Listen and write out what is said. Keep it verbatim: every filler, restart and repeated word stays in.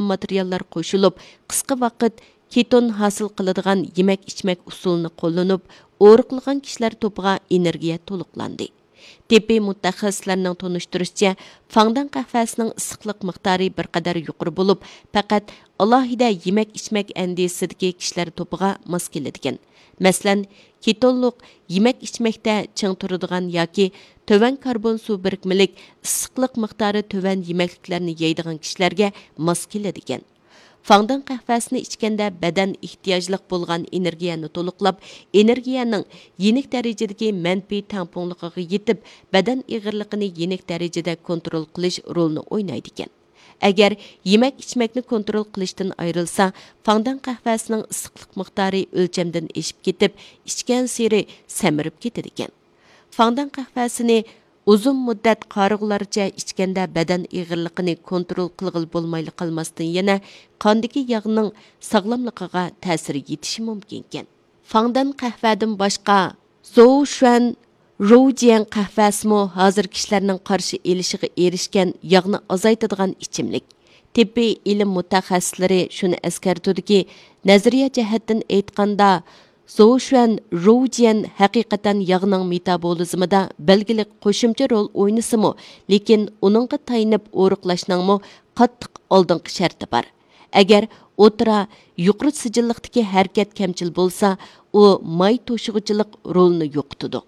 ماتېرىياللار قوشۇلۇپ، قىسقا ۋاقىت كېتون ھاسىل قىلىدىغان يېمەك-ئىچمەك ئۇسۇلىنى قوللىنىپ، ئورۇقلىغان كىشىلەر توپىغا ئېنېرگىيە تولۇقلاندى. تېببىي مۇتەخەسسىسلەرنىڭ تونۇشتۇرۇشىچە، فاڭدەن قەھۋەسىنىڭ ئىسسىقلىق مىقدارى بىر قەدەر يۇقىرى بولۇپ، پەقەت ئالاھىدە يېمەك-ئىچمەك ئەندىزىسىدىكى كىشىلەر توپىغا ماس كېلىدىكەن. مەسىلەن، كېتونلۇق يېمەك-ئىچمەكتە چىڭ تۇرىدىغان ياكى تۆۋەن كاربون سۇ بىرىكمىلىك، ئىسسىقلىق مىقدارى تۆۋەن يېمەكلىكلەرنى يەيدىغان كىشىلەرگە ماس كېلىدىكەن. فاڭدېن قەھۋەسىنى ئىچكەندە بەدەن ئېھتىياجلىق بولغان ئېنېرگىيەنى تولۇقلاپ، ئېنېرگىيەنىڭ يېنىك دەرىجىدىكى مەنپىي تەڭپۇڭلۇقىغا يېتىپ، بەدەن ئېغىرلىقىنى يېنىك دەرىجىدە كونترول قىلىش رولىنى ئوينايدىكەن. ئەگەر يېمەك-ئىچمەكنى كونترول قىلىشتىن ئايرىلسا، فاڭدېن قەھۋەسىنىڭ ئىسسىقلىق مىقدارى ئۆلچەمدىن ئېشىپ كېتىپ، ئىچكەنسېرى سەمرىپ كېتىدىكەن. فاڭدېن قەھۋەسىنى ئۇزۇن مۇددەت قارىغۇلارچە ئىچكەندە بەدەن ئېغىرلىقىنى كونترول قىلغىلى بولمايلا قالماستىن، يەنە قاندىكى ياغنىڭ ساغلاملىقىغا تەسىر يېتىشى مۇمكىنكەن. فاڭدېن قەھۋەدىن باشقا، زوۋشۈەن روۋجيەن قەھۋەسىمۇ ھازىر كىشىلەرنىڭ قارشى ئېلىشىغا ئېرىشكەن ياغنى ئازايتىدىغان ئىچىملىك. تېببىي ئىلىم مۇتەخەسسىسلىرى شۇنى ئەسكەرتىدۇكى، نەزەرىيە جەھەتتىن ئېيتقاندا، زوۋشۈەن روۋجيەن ھەقىقەتەن ياغنىڭ مېتابولىزمىدا بەلگىلىك قوشۇمچە رول ئوينىسىمۇ، لېكىن ئۇنىڭغا تايىنىپ ئورۇقلاشنىڭمۇ قاتتىق ئالدىنقى شەرتى بار. ئەگەر ئوتتۇرا، يۇقىرى سىجىللىقتىكى ھەرىكەت كەمچىل بولسا، ئۇ ماي توشۇغۇچىلىق رولىنى يوقىتىدۇ.